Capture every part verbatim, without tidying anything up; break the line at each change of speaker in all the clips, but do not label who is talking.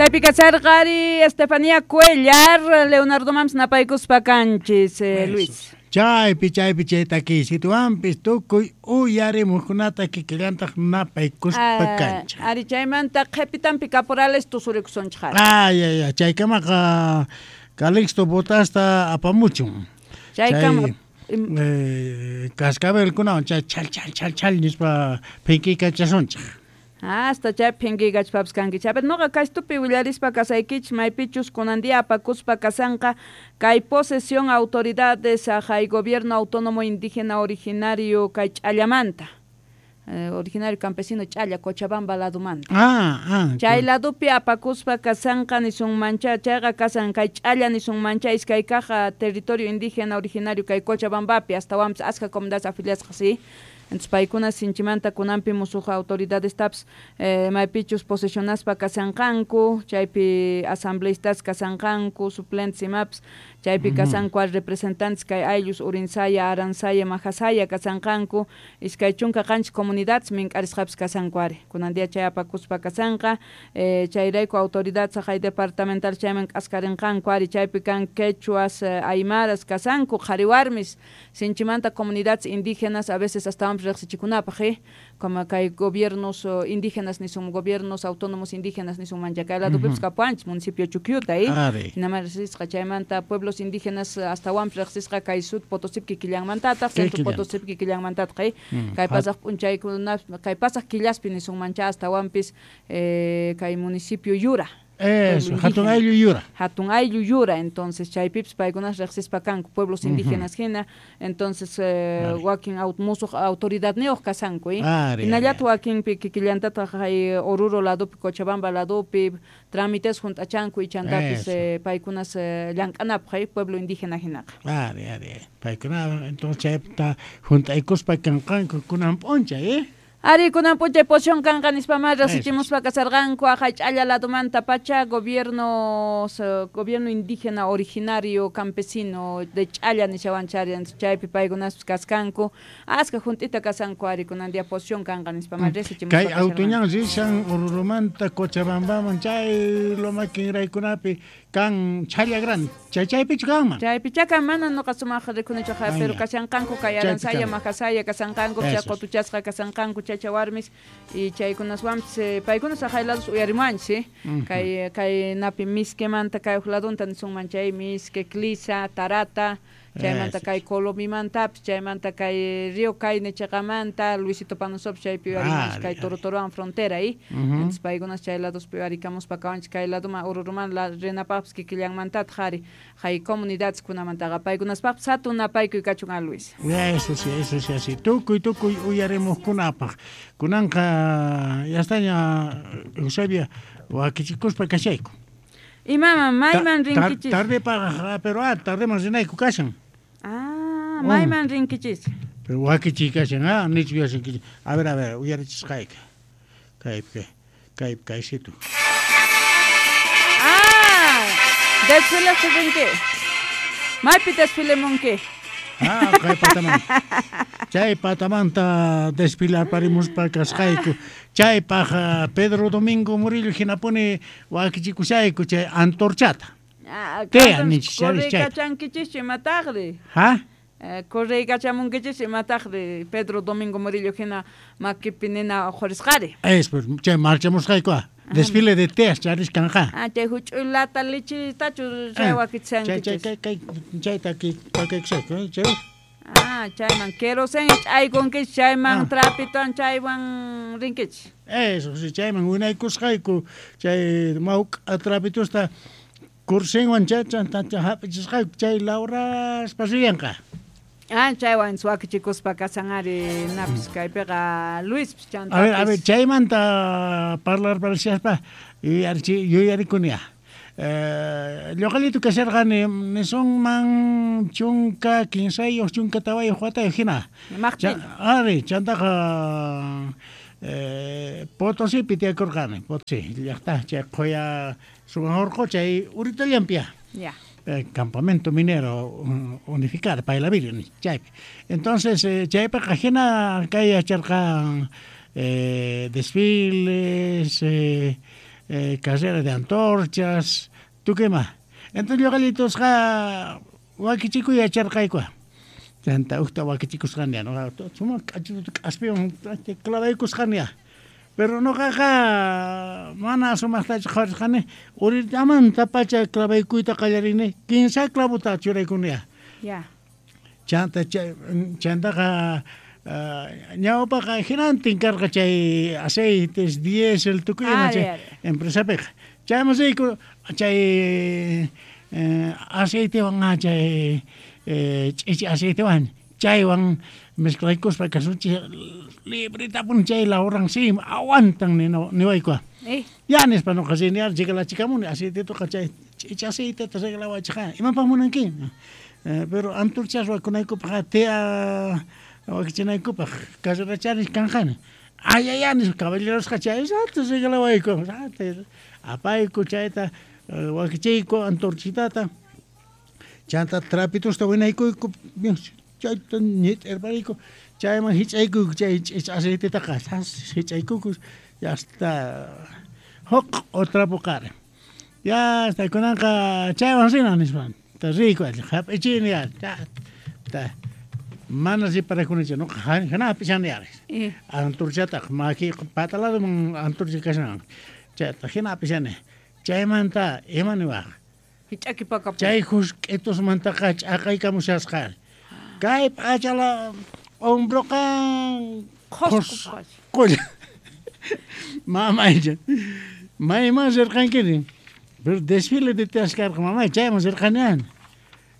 Chaypi kasarqari Estefanía Cuellar, Leonardo Mams napaykuspa kanchis, eh, Luis.
Chaypi chaypi chay takisituwanpis tukuy uyarimuqkunata kikillantaq napaykuspa kanchik.
Ari chaymanta qhipitanpi caporales tusurikusunchik.
Ay ay ay chaykamaqa Calixto Botasta apamuchun.
Chaykama
eh, cascabelkunawan chay chal chal chal chal nispa phinkiykachashunchik.
Hasta chay phinkiykachpapas kankichik. A ver, noqa kaystupi willarispa kasaykichik maypichus kunan día apakuspa kasanqa kay posesión autoridades hay gobierno autónomo indígena originario kay Ch'allamanta. Eh, originario campesino Ch'alla, Cochabamba ladumanta.
Ah, ah.
Chay ladupi apakuspa kasanqa nisunmancha, chayqa kasan kay Ch'alla nisunmancha iskay kaq territorio indígena originario kay Cochabambapi astawanpis askha comunidades afiliasqa, sí. Entonces paykuna sinchimanta kunanpi musuq autoridades taps eh, maypichus posesionaspa kasanqanku, chaypi asambleístas kasanqanku, suplentes imapas, chaypi kasanku al representantes kay ayllus Urinsaya, Aransaya, Majasaya kasanqanku, iskay chunka qanchis comunidades mink'arisqapis kasanku ari. Kunan día chay apakuspa kasanqa, eh, chayrayku autoridades hay departamental chayman k'askarinqanku ari, chaypi kan quechuas, eh, aymaras kasanku, qhari warmis, sinchimanta comunidades indígenas a veces hasta riqsichikunapaq, eh, como kay gobiernos uh, indígenas nisun gobiernos autónomos indígenas nisun mancha kay ladupipis kapuanchis municipio Chuquiuta, eh, hinaman riqsisqa chaymanta pueblos indígenas astawanpis riqsisqa kay Sud Potosí kikillanmantataq, Centro Potosí kikillanmantataq, eh, kay pasaq p'unchaykuna kay pasaq killaspi nisun mancha astawanpis eh, kay municipio Yura.
Eso, Hatun Ayllu Yura.
Hatun Ayllu Yura, entonces chaypipis paykunas riqsispa kanku pueblos indígenas hina, entonces eh, wakin aut musuq autoridadniyuq kasanku, eh. Hinallataq wakinpi kikillantataq hay Oruro ladupi, Cochabamba ladupi trámites hunt'achanku ichantapis eh, paykunas eh, llank'anapaq, eh, pueblo indígena hinaqa.
Ari, ari. Paykuna entonces chaypita hunt'aykuspa kanqanku kunan p'unchay, eh.
Ari kunan p'unchay posición kanqa nispamá riqsichimuspa kasarqanku aqhay Ch'alla ladumanta pacha gobierno gobierno indígena originario campesino de Ch'alla nishawanchari, chaypi paykunaspis kaskanku askha junt'ita kasanku ari kunan día posición kanqa nispamá riqsichimuspa
kay autuñan rishan Orurumanta Cochabambaman chay loma kinraykunapi kan Ch'alla grande chay chaypichu kanman
chaypicha kan mana nuqa sumaq rikunichu pero kashanqanku kay Aransaya Majasaya kasanqanku chay qutuchasqa kasanqanku chacha warmis y chaykunaswanpis eh, paykunas aqhay ladus uyarimuanchis, eh? Kay kay napi Misquemanta kay uq ladunta nisunman chay Misque, Clisa, Tarata, chaymanta kay Colomimantapis, chaymanta kay Río Caine chaqamanta, Luisito Panosopis chaypi uyarimuanchis kay Torotorowan frontera, eh? Entonces paykunas chay laduspi uyarikamuspa kawanchis kay laduman Oruruman la rinapaqpis kikillanmantataq ari hay comunidades kunamantaqa paykunaspaqpis hatun napaykuy kachun a Luis.
Eso sí, eso sí, así. Tukuy tukuy uyarimuqkunapaq. Kunanqa yastaña Eusebia wakichikuspa kashayku.
Imaman mayman rinkichis?
Tardepaq, pero ah, tardeman rinayku kashan.
Ah, mayman rinkichis?
Pero wakichi kashan, ah, nichu yashankichis. A ver, a ver, uyarichisqayki. Kaypi, kaypi, kaysitu.
Ah, desfile rinki. Maypi desfile munki?
Ah, kay patamanta. Chay patamanta desfilarparimuspa kasqayku. Chaypaq Pedro Domingo Murillo hinapuni wakichikushayku chay antorchata.
Ah,
Tea nichis chay.
Correykachankichis imataqri?
Ha?
Eh, correykachamunkichis imataqri Pedro Domingo Murillo hina makipi nina uqhurisqari.
Es, pues, chay marchamusqayku. Desfile de teas charis kanja.
Ah, chay huch'uy lata lichitachu chay wakichankichis.
Chay chay chayta ki pakaykushayku, chay.
Ah, chayman querosén ch'aykunkichis, chayman trapitowan chaywan rinkichis.
Eso, sí, chayman winaykusqayku, chay mawk'a trapitosta kursinwan chay hap'ichisqayku, chay lawraspa riyanqa.
Ah, chaywan wakichikuspa kasan ari napis kaypiqa Luispis chantapis.
A ver, a ver, chaymanta parlarparishaspa yuyarichi yuyarikunia. Eh, lluqallitu kasharqani nisunman chunka kinsayuq chunka tawayuq watayuq hina. Ari, chantaqa eh, Potosipi tiyakurqani, Potosí llaqta chay qhuya sumaq urqu chay uritallanpia.
Ya.
Eh, campamento minero unificado Pailaviri chaypi. Entonces eh, chaypiqa hina kay yacharqan eh, desfiles, eh, eh, carrera de antorchas, tukima. Entonces ñuqallitosqa wakichikuy yacharqayku. Chanta ujta wakichikusqani, no, sumaq k'achituta k'aspiwan clavaykusqani. Pero noqaqa mana sumaqtachu qhawarisqani, urillamantapacha clavaykuyta qallarini, kinsa clavota churaykuni.
Ya.
Chanta chantaqa ñawpaqa hinantin karqa chay aceites, diésel, tukuy ima chay empresapiqa. Chayman riyku chay aceitewan chay ch'ichi aceitewan chaywan mezclaykuspa kasunchik libretapuni chay laboran sí aguantan niwayku. Ya nispa noqa rini regalachikamuni aceitetoqa chay ch'ichi aceiteta regalawachqa imapaq munanki. Pero antorchas wakunaykupaq tea wakichinaykupaq carrerachari kanqani. Ay ay ay nispa caballerosqa chay rato regalawayku apayku chayta wakichiyku antorchitata chanta trapitosta winaykuyku chayta ñit'irpariyku chayman hich'aykuyku chay ch'ichi aceitetaqa hich'aykuyku ya hasta huk trapo qari ya hasta kunanqa chaywan rina nispa riyku hap'ichini ya ta mana reparakunichu noqa hina hap'ishani ari antorchataqa maki pata ladoman antorcha kashan chayta hina hap'ishani chaymanta ima niwaq chay husk'itusmantaqa ch'aqaykamushasqa kay p'achala hombroqa qhusqolla mamaycha mayman rirqankiri pero desfile de teas karqa mamay chayman rirqani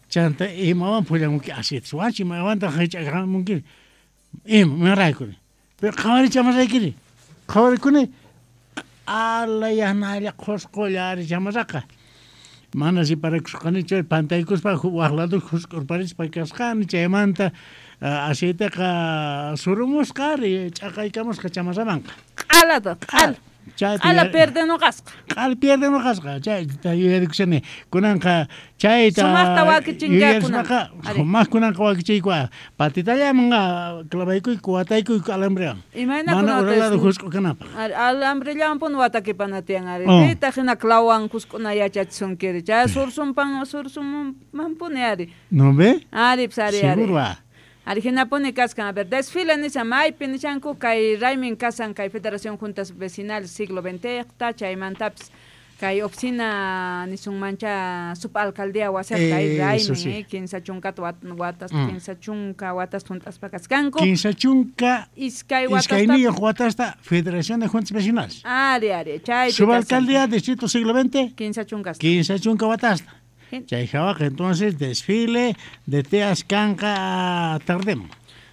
chanta imawan phullamunki aceites wachi imawantaq hich'akamunki ima imaraykuni pero qhawarichamarraykiri qhawarikuni q'ala yanalla qhusqolla ari chamarraqa mana riparakusqanichu pantaykuspa waq lado husk'urparispa kasqani chaymanta aceiteqa surumusqa ari ch'aqaykamusqa chamarramanqa
q'alata q'ala q'ala pierdenoqasqa
q'ala pierdenoqasqa chayta yuyarikushani kunanqa chayta
sumaqta wakichinka
sumaq kunanqa wakichiyku patitallaman clavaykuyku wataykuyku alambrewan mana ura lado husk'u kanapaq
alambrellawan puni watakipana tiyan ari pitaq hina clavowan husk'una yachachisunkiri chay sursunpan sursunmanpuni ari
no ve
ari pues ari ari
seguro.
Ari hinapuni kaskan, a ver, desfile nishan maypi nishanku kay raymin kasan kay Federación Juntas Vecinales siglo veinte chaymantapis kay oficina nisunmancha subalcaldía wasiqa kay raymin
sí.
eh, kinsa chunkata watas mm. kinsa chunka watas juntaspa kaskanku
kinsa chunka
iskay watasta
iskayniyuq watasta Federación de Juntas Vecinales
ari ari chaypi
subalcaldía distrito siglo veinte
kinsa chunkasta
kinsa chunka watasta chay hawaqa entonces desfile de teas kanqa tardemo.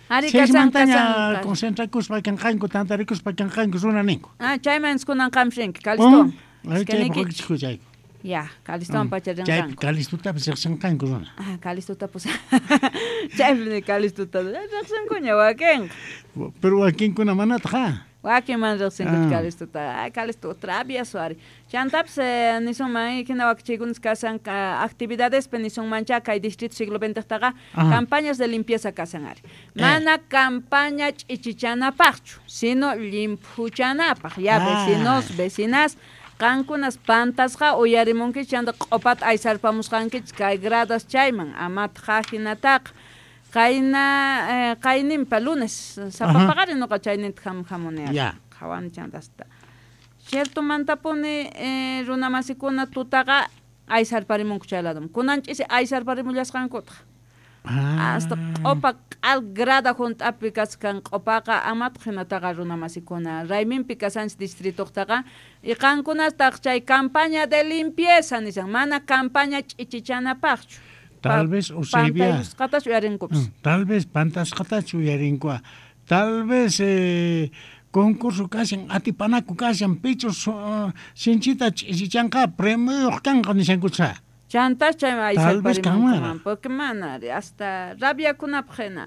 Ari kasan
kasan concentrakuspa kanqanku tantarikuspa kanqanku runa ninku.
Ah, chayman kunan qamshinki Calisto.
Chaypi
Ya, Calistowan pacha rinqanku.
Chaypi Calistotapis riqsinqanku runa.
Ah, Calistotapis. Chaypi Calistota riqsinkuña wakinqa.
Pero wakinkuna manataq ha.
Wakin man riqsinku Calistota. Ay, Calisto travieso ari. Chantapis nisunman hina wakichiykunas kasan actividadespi nisunmancha kay distrito siglo veintetaqa campañas de limpieza kasan ari. Mana eh. campaña ch'ichichanapaqchu, sino llimphuchanapaq. Ya vecinos, vecinas, qankunas pantasqa uyarimunkichik chanta q'opata aysarpamusqankichik kay gradas chayman amataq hinataqa. Qayna qayninpa lunes sapa paqarin noqa chayninta hamuni qhawani chantasta ciertomantapuni runamasikuna tutaqa aysarparimunku chay ladoman kunan ch'isi aysarparimullasqankutaq hasta q'opa q'al grada hunt'api kaskan q'opaqa amataq hinataqa runamasikuna rayminpi kasanchik distritoqtaqa y qankunataq chay campaña de limpieza nishan mana campaña ch'ichichanapaqchu.
Tal vez Eusebia, tal vez pantasqatachu uyarinku, tal vez eh, concurso kashan atipanaku kashan pichus uh, sinchita ch'isichanqa premioyuq kanqa nishankucha.
Chantas chayman
Tal vez
aysarparimunkuman porque mana hasta rabiakunapaq hina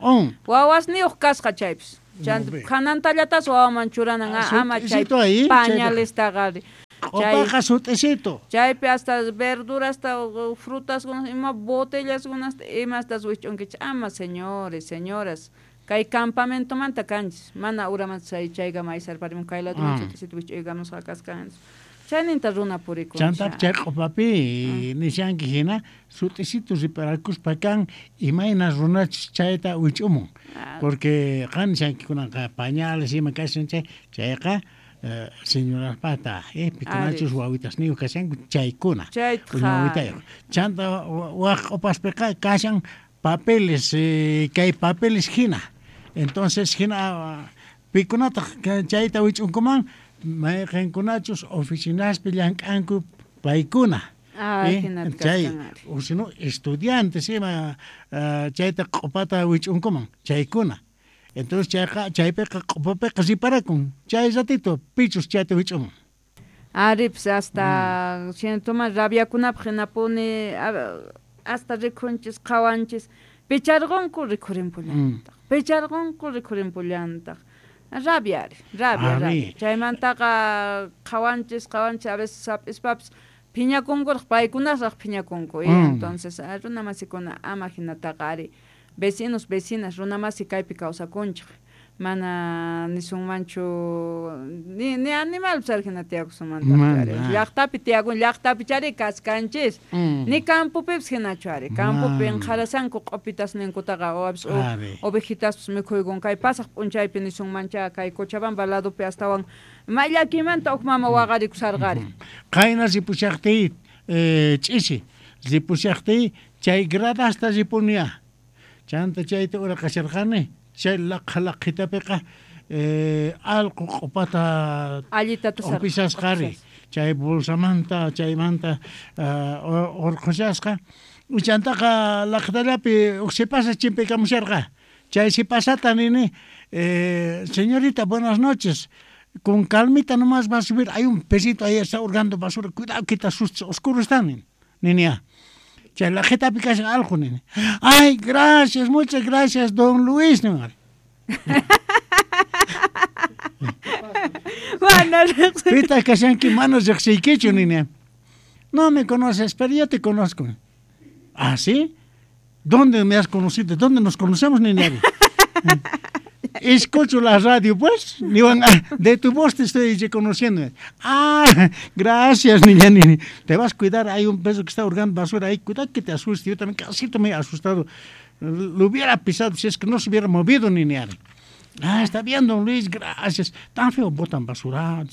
wawasniyuq kasqa chaypis chanta hanantallatas wawaman churanan ama chay pañalestaqa
Q'upaqa sut'isito.
Chaypi hasta verdurasta frutas ima botellas imastas wich'unkichik ama señores, señoras kay campamentomanta kanchis mana uramanta chay chaykama aysarparimun kay ladoman sut'isito wich'uykamusqa kasqanchis. Chayninta runa purikun.
Chanta chay q'upapi nishanki hina sut'isitu riparakuspa kan imayna runachus chayta wich'umun. Porque qan nishanki kunanqa pañales ima kashan chay chayqa señoraspata eh pikunachus wawitasniyuq kashanku chaykuna. Wawitayuq. Chanta waq q'upaspiqa kashan papeles eh, kay papeles hina. Entonces hina pikunataq chayta wich'unkuman mayqinkunachus oficinaspi llank'anku paykuna.
Ah,
chay o si no estudiantes ima chayta q'upata wich'unkuman chaykuna. Entonces chayqa chaypiqa q'upapiqa riparakun chay ratito pichus chayta wich'umun.
Ari, pues hasta mm. rabiakunapaq hinapuni hasta rikhunchis qhawanchis picharqunku rikhurinpullantaq mm. picharqunku rikhurinpullantaq rabia ari rabia rabia chaymantaqa qhawanchis qhawanchis a veces hap'ispapis phiñakunkuraq paykunasraq phiñakunku mm. Entonces runa masikuna ama hinataqa ari vecinos vecinas runa masi kaypi kawsakunchik mana nisunmanchu ni ni animalpis ari hina tiyakusunmantaq ari llaqtapi tiyakun llaqtapi chari kaskanchis mm. ni campopipis hinachu ari campopi inqharasanku q'upitasninkutaqa o ovejitaspis mikhuykun kay pasaq p'unchaypi nisunmancha kay Cochabamba ladopi astawan may llakimanta huk mama waqarikusarqari.
Qayna ripushaqtiy eh, ch'isi ripushaqtiy chay gradasta ripunia chanta chayta uraqasharqani chay laqha laqhitapiqa eh, allqu q'upata q'upishasqari chay bolsamanta chaymanta uh, urqhushasqa chantaqa laqhitallapi huk sipasa chimpaykamusharqa chay sipasata nini eh, señorita buenas noches con calmita nomás va a subir hay un pesito ahí está hurgando basura cuidado que te asustes oscuro está ninia chay laqhitapi kashan allqu nini ay gracias muchas gracias don Luis nini.
Mana
pitaq kashanki mana riqsiykichu nini. No me conoces pero yo te conozco. ¿Ah, sí? ¿Dónde me has conocido? ¿Dónde nos conocemos, nini? Escucho la radio, pues. De tu voz te estoy reconociendo. Ah, gracias, niña, niña. Te vas a cuidar, hay un peso que está hurgando basura ahí. Cuidado que te asuste. Yo también casi me he asustado. Lo hubiera pisado si es que no se hubiera movido, niña. Ah, está bien, don Luis, gracias. Tan feo botan basura.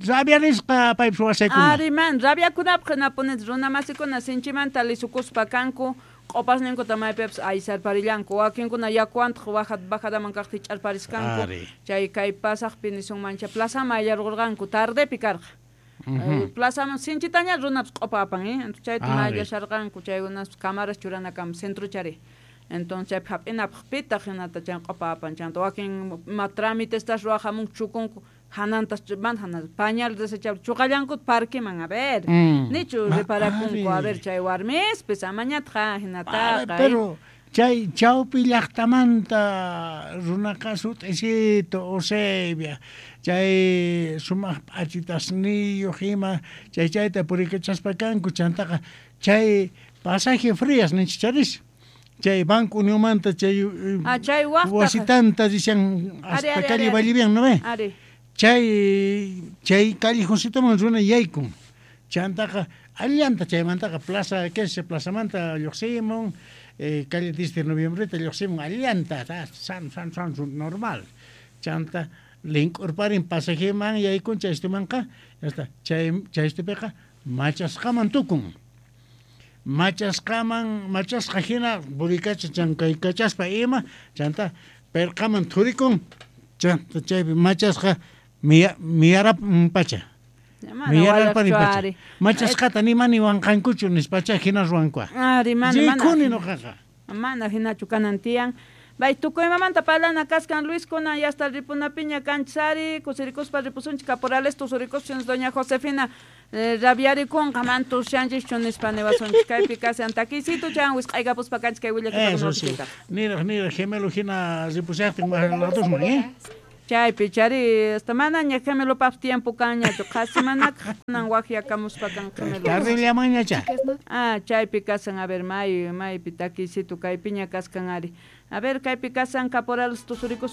Rabiarisqa paypis wasaykuna.
Ari man, rabiakunapaq hinapunis runa masikuna sinchimanta lisukuspa kanku q'upasninkuta maypipas aysarparillanku wakinkuna yakuwantaq bajadaman kaqta hich'arpariskanku chay kay pasaqpi nisunmancha plazaman ayllarqurqanku tardepi karqa. Uh-huh. Plazaman sinchitaña runapas q'upa apan eh chayta mayllasharqanku chaykunas cámaras churanakama centrochari. Entonces chaypi hap'inapaq pitaq hinata chay q'upa apan chanta wakin ima trámitestas ruwaqhamunku chukunku hanantas mana hanan pañal desechable chuqallankuta parqueman a ver mm. nichu reparakunku a ver chay warmispis amañataq hinataqa
pero chay chawpi llaqtamanta runaqa sut'isito Eusebia chay sumaq p'achitasniyuq ima chay chayta purikachaspa kanku chantaqa chay pasaje Frías ninchis chay Banco Unionmanta chay
ah, chay
wasitanta rishan hasta calle Vallivian ¿no ve?
Ari.
Chay chay callejoncitoman runa yaykun chantaqa allanta chaymantaqa plaza que es plazamanta lluqsimun eh, calle diez de noviembreta lluqsimun allanta san san san normal chanta link'urparin pasajeman yaykun chaystumanqa hasta chay chaystupiqa machasqaman tukun machasqaman machasqa hina purikacha chankaykachaspa ima chanta perqaman thurikun chanta chaypi machasqa miyarap pacha miyararparin pacha machasqata ni mani wanqankuchu nispacha hina ruwankua
ari mana mana
rikuni nuqaqa
mana hinachu kanan tiyan bay tukuymamanta parlana kaskan Luis kunan yasta ripunapiña kanchis ari kusirikuspa ripusunchik caporales tusurikuspa doña Josefina eh, rabiarikunqa man tushanchikchu nispa niwasunchik kaypi kashan takisito chan wisq'aykapuspa kanchik kay willakuyta.
Niraq niraq gemelo hina ripushaqtin ladosman eh
Chaypi chari hasta manaña gemelopaq tiempo kanñachu qhasi manakaq kunan waqyakamuspa kan gemelo.
Tardillamanñacha.
Ah, chaypi kasan a ver may maypi takisito kaypiña kaskan ari. A ver kaypi kasan caporales tusurikus